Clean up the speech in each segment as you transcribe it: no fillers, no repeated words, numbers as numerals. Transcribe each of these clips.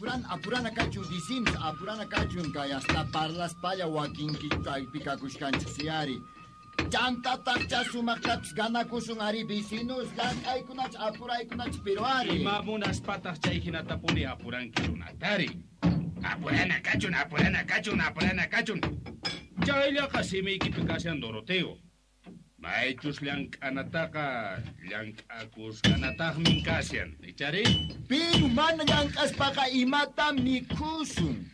Apurana kachun vecinos, apurana kachun kay hasta parlaspalla wakinki kaypi kakushkanchik si ari. Chantataq sumaqtapis ganakusun ari vecinos, llank'aykunach apuraykunach pero ari. Ima munaspataq chay hinatapuni apuranki runatari. Apurana kachun, apurana kachun, apurana kachun. Chayllaqa simiykipi kashan Doroteo. Maychus llank'anataqa llank'akusqanataqmin kashan. Ichari? Pero mana llank'aspaqa imata mikhusun.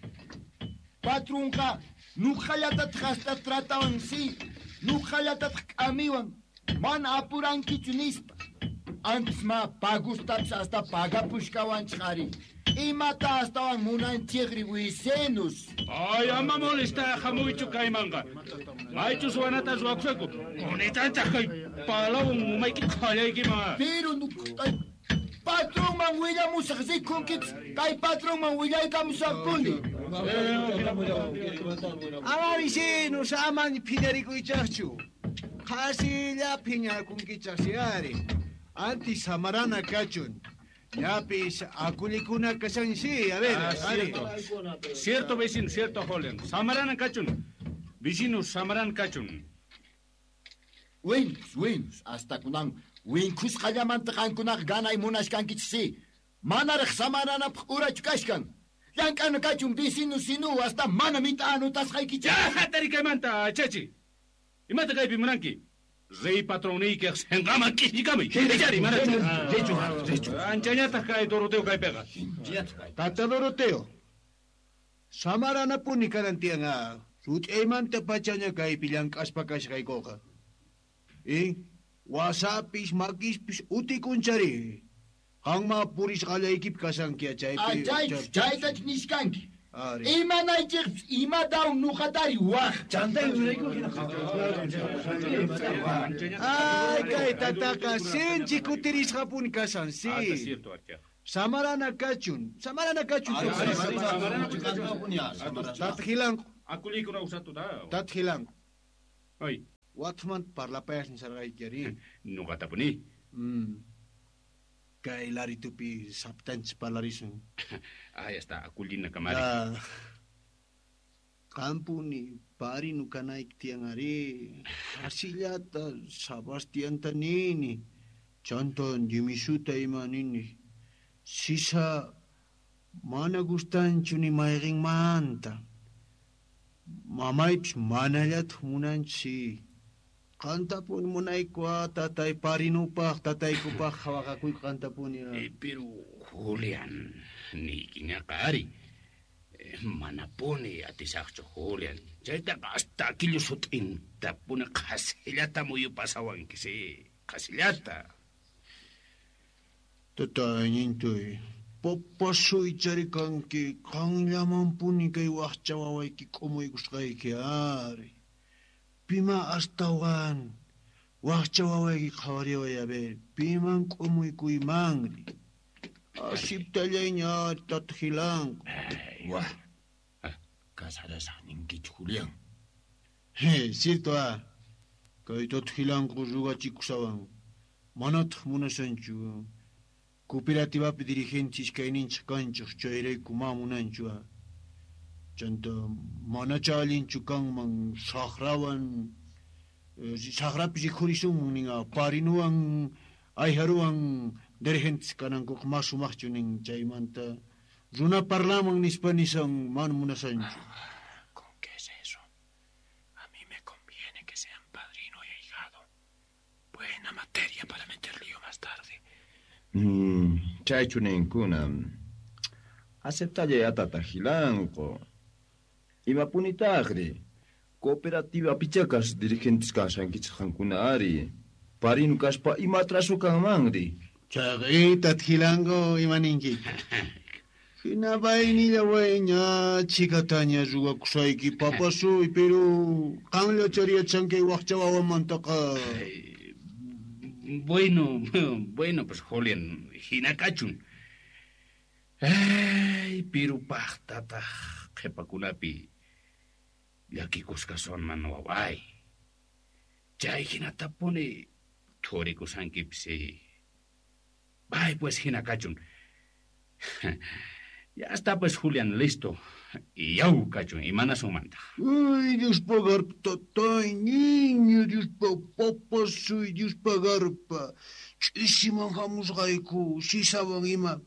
Patrunqa nuqallatataq hasta tratawan si, nuqallatataq k'amiwan, mana apurankichu nispa. Antes ma pagustapis hasta pagapushkawanchik ari. Imata astawan munanchikri vecinos. Ay, ama molesta hamuychu kaymanqa. Maychus wanata ruwakusayku. Kunitanchaq kay palawan umayki qhallaykiman. Pero patronman willamusaq rikunkipis, kay patronman willaykamusaqpuni. Ama vecinos, ama phiñarikuychaqchu. Qhasilla phiñakunkichaq si ari. Antis samarana kachun. Ñapis akullikuna kashan si, a ver, ari. Cierto. Cierto vecino, cierto joven. Samarana kachun. Vecino samaran kachun. Winkus, winkus, hasta kunan winkusqallamanta qankunaqa ganay munashkankichik si. Manaraq samaranapaq urachu kashkan. Llank'ana kachun vecino sinu hasta mana mita anotasqaykichik. Ya, hatari kaymanta, chachi. Imata kaypi munanki? Rey patronniykiq sinqaman k'isllikamuy. Ichari, manachu? Richu, richu. Anchañataq kay Doroteo kaypiqa. Tata Doroteo. Samaranapuni kanan tiyan, Rut'aymanta pachaña kaypi llank'aspa kashqaykuqa. Wasapis, makispis utikunchari. Qanma purisqallaykipi kashanki chaypi. Chaytach nishkanki. Ari. Imanaychikpis imatawan nuqatari waq. Chantay urayku hina. Ay, kay tataqa sinchi kutirisqapuni kashan, si. Ah, cierto, Archia. Samarana kachun, samarana kachun. Tata Gilanco. Akulikuna usatu da. Tata Gilanco. Ay. Watman parlapayas nisarqayki ari. Nuqatapuni. Kay laritupi saptanchis parlarisun. Ahí está, akulina kamari. Qampuni parinu kanayki tiyan ari. Asillata Sebastianta nini. Chanta Jimisuta ima nini. Sisa mana gustanchu ni mayqinmanta. Mamaypis manallataq munanchis. Qantapuni munayku, tatay parinupaq, tataykupaq qhawaqakuyku qantapuni, ah. Pero Julián, niykiñaqa ari. Manapuni atisaqchu Julián. Chaytaqa hasta aquillo sut'intapuni qhasillata muyupasawanki, si, qhasillata. Tatay, ñintuy, papasuy charikanki, qanllamanpuni kay waqcha wawayki k'umuykusqayki, ari. Pima astawan waqcha wawayki qhawariway, a ver, piman k'umuykuymanri. Asiptallayña, tata Gilanco. Ay. Wah, casarasaq ninkichu, Julián. He, cierto, ah. Kay tata Gilanco ruwachikushawan. Manataq munashanchu. Cooperativapi dirigente iskayninchik kanchik, chayrayku ma munanchu, ah. Chanta manacha allinchu kanman saqrawan, saqrapi rikhurisunman nin, ah, parinuwan, ayharuwan dirigentes kanankuqa ma sumaqchu nin, chaymanta runa parlaman nispa nisan mana munasanchu. Ah, ¿con qué es eso? A mí me conviene que sean padrino y ahijado. Buena materia para meter lío más tarde. Chaychu ninkuna. Aceptallay atata Gilanco. Imapunitaqri? Cooperativa pichakas dirigentes kashankichik qankuna ari. Parinu kaspa ima atraso kanmanri. Chayqa tata Gilanco ima ninki? Hina vaynilla wayña chikataña ruwakusayki papasuy, pero qanlla chariyachanki waqcha wawamantaqa. Ay, bueno, bueno, pues Julián, hina kachun. Ay, pero paqtataq qhipakunapi llakikusqa sonman waway. Chay hinatapuni thurikusankipis. Bay, pues hina kachun. Ya está pues Julián listo. Yaw kachun imanasunmantaq. Ay, Dios pagarpa, tatay, niño, Dios pa, papasuy, Dios pagarpa. Ch'isiman hamusqayku, sisawan ima.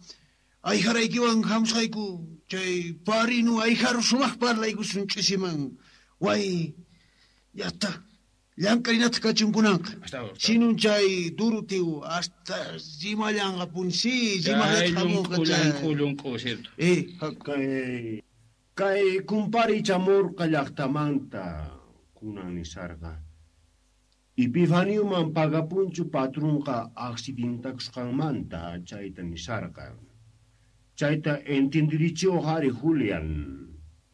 Ayjaraykiwan hamusqayku, chay parinu ayjaru sumaq parlaykusun ch'isiman. Way, ya está. Llank'arinataq kachun kunanqa. Sinun chay duru tiu hasta rimallanqapuni, sí, rimaqllata hamunqa chay. Llunk'u, cierto. Kay kumpari chamurqa llaqtamanta kunan nisarqa. Epifanioman pagapunchu patrunqa accidentakusqanmanta chayta nisarqa. Chayta entendirichiwaq ari Julián.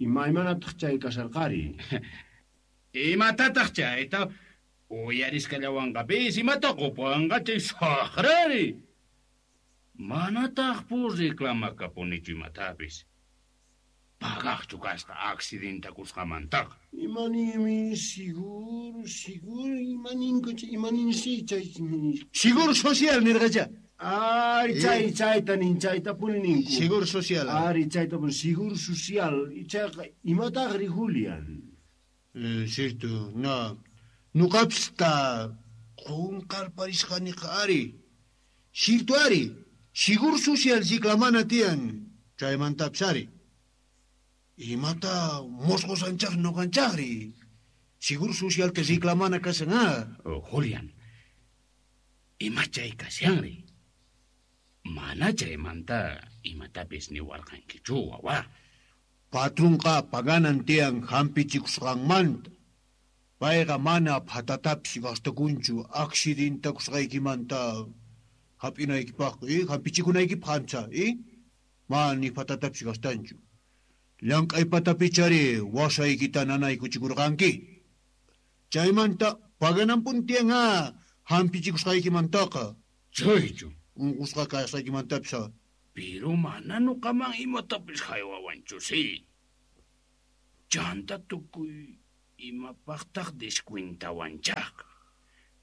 Imaymanataq chay kasarqari. Imatataq chayta uyarisqallawanqapis imata qupuwanqa chay saqrari. Manataq pur reclamakapunichu imatapis. Pagaqchu kasqa accidentakusqamantaqa. Imanimi seguro, imaninku imaninsi chay. Seguro social nirqacha. Ari chay chayta nin chaytapuni ninku. Seguro social. Ari chaytapuni seguro social. Chayqa imataqri Julián. Cierto, no. Nuqapis ta qunqarparisqaniqa ari. Cierto ari. Seguro social reclamana tiyan. Chaymantapis ari. Imata mosqosanchaq nuqanchaqri. Seguro social te reclamana kasan, ah. Oh, Julián, ima chay kashanri. Mana chaymanta imatapis niwarqankichu, wawa. Patrunqa paganan tiyan hampichikusqanmanta. Payqa mana phatatapis gastakunchu accidentakusqaykimanta hap'inaykipaq, hampichikunaykipaq ancha, Mana ni phatatapis gastanchu. Llank'aypatapichari wasaykita nanaykuchikurqanki. Chaymanta pagananpuni tiyan hampichikusqaykimantaqa. Chaychu. Unqusqa kasqaykimantapis. Pero mana nuqaman imatapis haywawanchu, sí. Chanta tukuy imapaqtaq descuentawanchaq.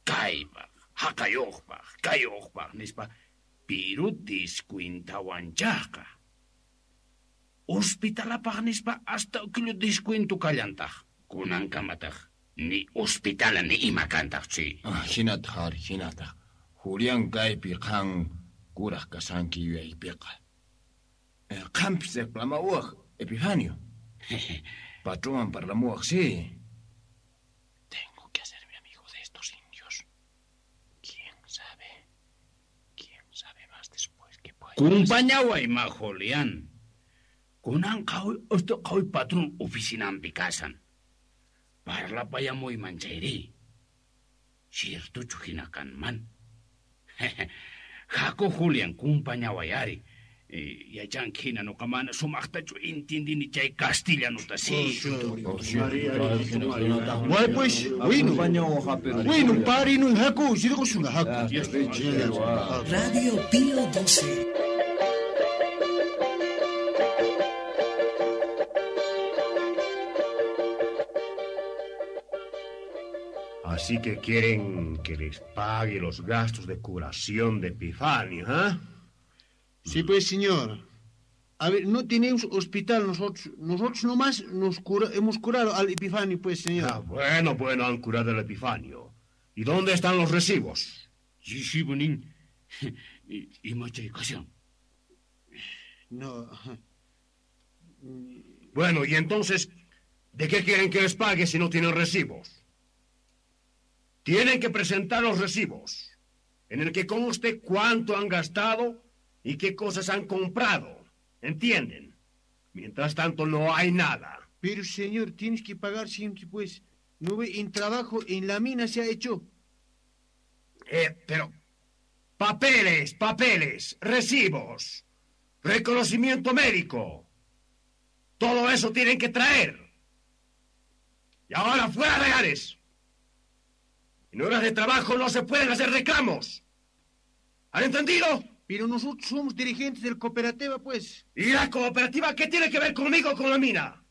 Kaypaq, haqayuqpaq, kayuqpaq nispa, pero descuentawanchaqqa. Hospitalapaq nispa hasta ukillu descuento kallantaq. Kunankamataq ni hospitala ni ima kantaq, sí. Ah, hinataq ari, hinataq. Julián kaypi qan kuraq kasanki yuyaypiqa. Qampis reclamawaq, Epifanio. Patronwan parlamuwaq, sí. Tengo que hacerme amigo de estos indios. ¿Quién sabe? ¿Quién sabe más después que pueda? Kumpañaway ma, Julián. Kunan qhawi patrón oficinampi kasan. Parlapayamuyman chayri. Ciertochu hina kanman. Jaco Julián kumpañaway ari. Yachanki hina nuqa mana sumaqtachu intindini chay castellanuta, sí. Way pues, winu. Winu, parinu, jaco, sirqusunqa, jaco. Radio Pío 12. Así que quieren que les pague los gastos de curación de Epifanio, ¿eh? Sí, pues, señor. A ver, no tenemos hospital nosotros. Nosotros nomás nos hemos curado al Epifanio, pues, señor. Ah, bueno, han curado al Epifanio. ¿Y dónde están los recibos? Sí, bonín. Y machacación. No. Bueno, y entonces, ¿de qué quieren que les pague si no tienen recibos? Tienen que presentar los recibos, en el que conste cuánto han gastado y qué cosas han comprado. ¿Entienden? Mientras tanto, no hay nada. Pero, señor, tienes que pagar siempre, pues. No ve, en trabajo en la mina se ha hecho. Pero... Papeles, papeles, recibos, reconocimiento médico. Todo eso tienen que traer. Y ahora fuera de Ares. En horas de trabajo no se pueden hacer reclamos. ¿Han entendido? Pero nosotros somos dirigentes del cooperativa, pues. ¿Y la cooperativa qué tiene que ver conmigo con la mina?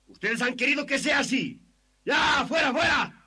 Ustedes han querido que sea así. ¡Ya, fuera, fuera!